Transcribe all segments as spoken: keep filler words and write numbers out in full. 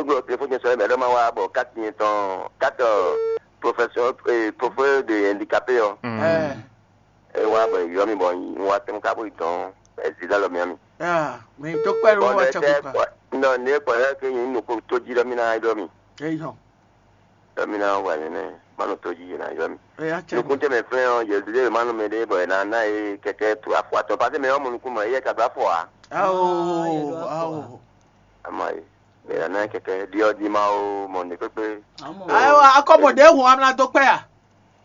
Ɖo telefɔni sɔ́ mɛ ɖɔ ma wá bɔ kati nyɛ tɔn kati professeur eh, professeur de handicapé ɔ. Mm. Ɛ. E wá bɔ yɔ mi bɔ n wá tɛn ka bó yi dɔn ɛ zi lɔ mi ami. Ah, mi tó pẹ́ ló Bɔn wá ne tẹ tẹ kɔ. Kpɔ nɔ ne kpɔ yɛ ke yin nukun tó jí lɔ mi na yɔ mi. Eyɔ. Lɔ mi na wà nínú ma nɔ tó jí yɛ na yɔ mi. Eya cɛ. Nukun tɛ mɛ fɛn ɔ yɛ zile ma nɔ mɛ de bɔ yɛ na na ye kɛkɛ tu afɔ atɔ pase mɛ ɔmɔ nukun mɔ yɛ ka do afɔ a. Awo, awo. Ama ye. Mɛ yɛ na kɛkɛ diɔ di ma o mɔ ne kpekpe. Ayiwa, akɔmɔdé hun amla dó kpɛ ya.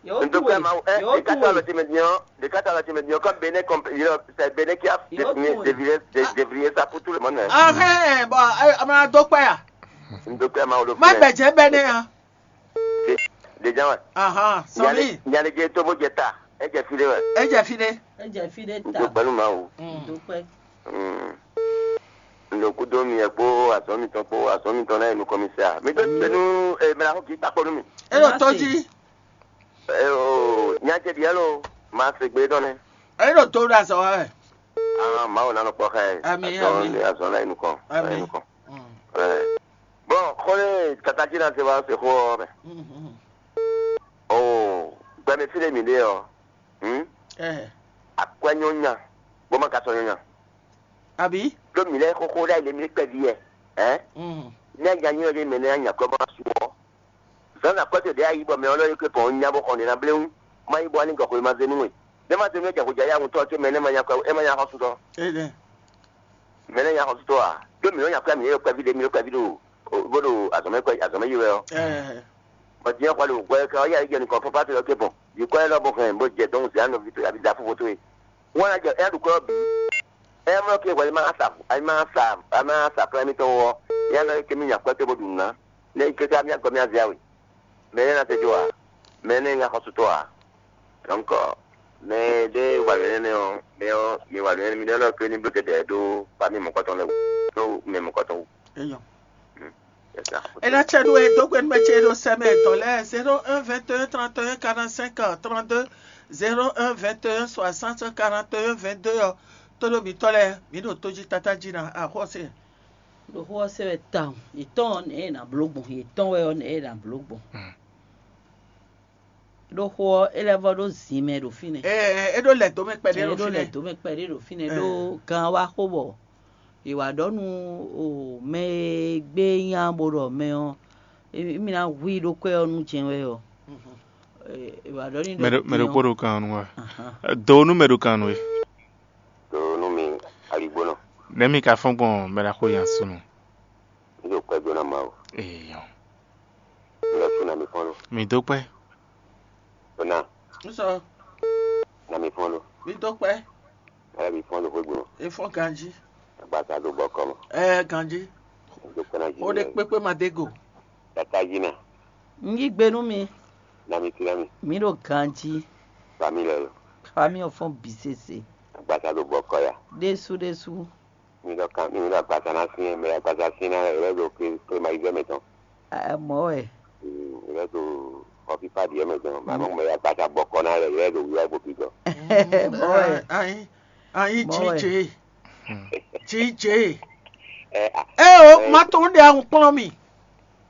N tó kpɛ ma ɛ de ka ta lɔ tɛmɛ diɔ de ka ta lɔ tɛmɛ diɔ kɔ bene kɔmp yɔ sɛ bene kia devriye devriye sa pour tout le monde. Ahɛn, bɔn amla dó kpɛ ya. N tó kpɛ ma o lo. Má gbɛjɛ bɛ ne ya. Déjà wa. Ahan, sɔmi. Nyale je to bo jɛ ta. E jɛ fi de wɛ. E jɛ fi de. E jɛ fi de ta. N tó kpɛ nu ma o. N tó kpɛ. N ɖo kúdó mi ɛ kpó azɔ̌ mitɔn kpó azɔ̌ mitɔn lɛ́ɛ nukɔn mi se a? Mi dó se nú mɛ na xɔ kì í takpɔ nú mi. E ɖo tó jí. Nya ce ɖiɛ lo ma se gbe dɔn nɛ. E ɖo tó ɖo azɔ̌ wa wɛ. Ah, Mawu ná nɔ kpɔ xá ɛ. Ami, azɔn ami. Azɔn lɛ́ɛ nukɔn. Ami. Lɛ́ɛ nukɔn. Bɔn xɔ ne tata jí na se wa se xó ɔ mɛ. O gbɛmɛ fi ɖe mi ɖe ɔ. Akwɛ nyɔ nya bó ma ka sɔ nyɔ nya. Abi. Ɖó mi lɛ xóxó ɖe ayile mi kpɛví yɛ. Ɛ. Ne nya nyɔ ɖe mɛ ne nya kɔ ma su ɔ. Zan na kɔte ɖe ayi bɔ mɛ ɔlɔ yi ke pɔn nya bɔ xɔ ne na blewu. Ma yi bɔ ani gɔxɔ ma zenu we. Ne ma zenu ja ko ja ya ŋutɔ ke mɛ ne ma nya kɔ e ma nya xɔ su tɔ. Mɛ ne nya xɔ su tɔ a. Ɖó mi nya kɔ mi yɛ kpɛví ɖe mi kpɛví ɖo bó ɖo azɔmɛ kpɛ azɔmɛ yi wɛ ɔ. Bɔ diɲɛ xɔ le wò gbɔ ka ɔ́ yɛ ayé jɛ nukɔn fɔ́fá to yɔ ke bɔn. Yi kɔ yɛ lɔ bɔ hɛn bó jɛ dɔn zɛ anɔ vi to abi da fofo to ye. Wọn na jɛ ɛyá ɖukɔ bì. Ɛyá mɔ ke wɛlɛ ma sa ayi ma sa ayi ma sa plan mi tɔn wɔ. Ɛyá nɔ ke mi nya kɔ te bó ɖu nǔ ná. Ne yi keke mi agɔ mi azia we. Mɛ ne na te jo a. Mɛ ne nya xɔsutɔ a. Donc mɛ ɖe wa lɛ nɛ ɔ mɛ ɔ mi wa lɛ mi ɖe lɔ ke ni blo kɛdɛ ɖo pa mi mɔkɔtɔn lɛ wo. Ɖo mɛ mɔkɔtɔn wo. Eyɔ. Ena cɛ ɖo e dó gbe nú mɛ ce ɖo sɛmɛ tɔn lɛ zéro un vingt et un trente et un quarante cinq trente deux zéro un vingt et un soixante quarante et un vingt deux ɔ. Tóɖó mǐtɔn lɛ mǐ ɖo tójí tata jí na axɔ́sɛ. Ɖo xó ɔ́ se wɛ tawun, yětɔn ɔ́ nɛ̌ è nǎ bló gbɔn, yětɔn wɛ ɔ́ nɛ̌ è nǎ bló gbɔn. Ɖó xó ɔ́ é lɛ́ vɔ́ ɖó zin mɛ ɖo fínɛ́. Ɛ é ɖó lɛ dó mɛ kpɛɖé ɖo fínɛ́. Ɛ é ɖó lɛ dó mɛ kpɛɖé ɖo fínɛ́ ɖó gan wá xó bɔ è wǎ ɖɔ nú mɛ e gbé nya bó ɖɔ mɛ ɔ́, émí ná hu i ɖó kwɛ́ ɔ́ nú jɛ́n wɛ ɔ́. È wǎ ɖɔ n'i ɖɔ mɛ ɖokpó ɖo kan nú wɛ. Do nú mɛ ɖo kan nú we. Do nú mi aligbónɔ. Nɛ̌ mi ka fɔ́n gbɔn mɛ ɖaxó nya súnnu? Mí ɖo kwɛ́ dó ná Mawu. Eyɔ. Lɔ sú na mi fɔ́n lo. Mi dó kpɛ́. Ona. Nsɔ. Na mi fɔ́n lo. Mi dó kpɛ́. Ala mi fɔ́n lo xwé gbɔn. E fɔ́n ganjí. Agbata ɖo bɔ kɔ mɔ. Ɛɛ ganjí. Dó kpɛ́ ná jí. O ɖe kpékpé ma dé go. Tata jí na. N yí gbe nú mi. Na mi tlɛ mi. Mi ɖo ganjí. Famille lɔ. Famille ɔ́ fɔ́n bǐ sese. Agbata ɖo bɔ kɔ ya. Ɖésú ɖésú. Mi ɖɔ kan mi ɖɔ agbasa ná syɛ́n mɛ agbasa syɛ́n ná lɛ́ ɖo klémayizɛ mɛ tɔn. Mɔ̌ wɛ. Lɛ́ ɖo xɔfífá ɖiɛ mɛ tɔn mɛ mɛ agbasa bɔkɔ ná lɛ́ lɛ́ ɖo wíwá gbogbo gɔ. Mɔ̌ wɛ. Anyi anyi Mɔ̌ wɛ. Jije jije. Ɛ a. Ɛ o ma tó ń de ahun kplɔ́n mi.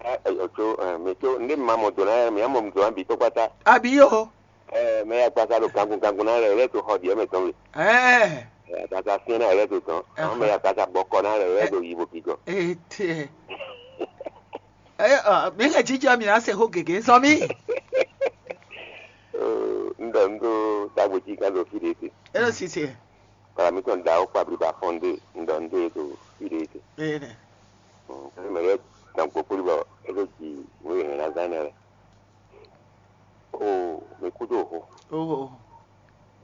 Ɛ ɛ o tso ɛ mi tso ndé mi ma mɔ do ná mi ma mɔ do ná bi tó kpata. Àbí o. Ɛ mɛ ya gbasa ɖo gangun gangun ná lɛ lɛ to xɔ ɖiɛ mɛ tɔn we. Ɛ. Ɛ gbasa fiɛ ná lɛ to tɔn. Àwọn mɛ ya gbasa bɔkɔ ná lɛ lɛ to yibo gigɔ. Ete. Ɛ ɔ mi kɛ jija mi na se xó gègé sɔ mi. N ɖɔ n ɖo dagbo jí kan ɖo fi ɖe te. E ɖo sise. Kpala mi tɔn da o kpabli ba fɔn ɖe n ɖɔ n ɖe ɖo fi ɖe te. Ee nɛ. Mɛ lɛ dan gbokpoli bɔ e ɖo ji wo yɛ na zan nɛ lɛ. Oo, mi kú dó xo. Oho.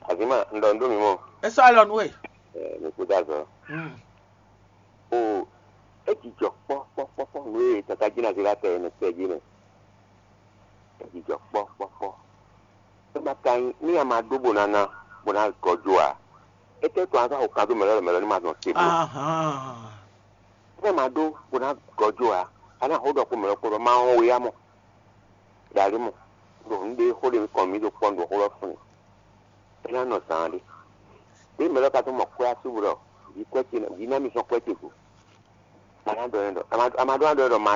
Azima, n ɖɔ n ɖó mi mɔ. E sɔ alɔ nu we. Ɛ, mi kú dó azɔ. Mm. Oo, e jijɔ kpɔ kpɔ kpɔ kpɔ nu e tata jí na zé la tɛ ne tɛ jí ne. E jijɔ kpɔ kpɔ kpɔ. E ma ka nyi ní a ma ɖó bó ná ná bó ná gɔjo a. E tɛ tɔn a ka xo kan dó mɛ lɔ mɛ lɔ ní ma zɔn te bó. Ahan. Ní a ma ɖó bó ná gɔjo a, a ná xo ɖɔ kó mɛ lɔ kó ɖɔ ma wɔn we ya mɔ. Ɖali mɔ, ɖo nǔ ɖé xó ɖé kɔn mǐ ɖo kpɔ́n ɖo xó lɔ fún mì. É ná nɔ zaan ɖé. Ɖé mɛ lɔ ka tó mɔ kwɛ́ asú ɖɔ vǐ kwɛ́ ce vǐ ná mi sɔn kwɛ́ ce go. A ná ɖɔ ɛ ɖɔ a ma ɖó ná ɖɔ ɛ ɖɔ ma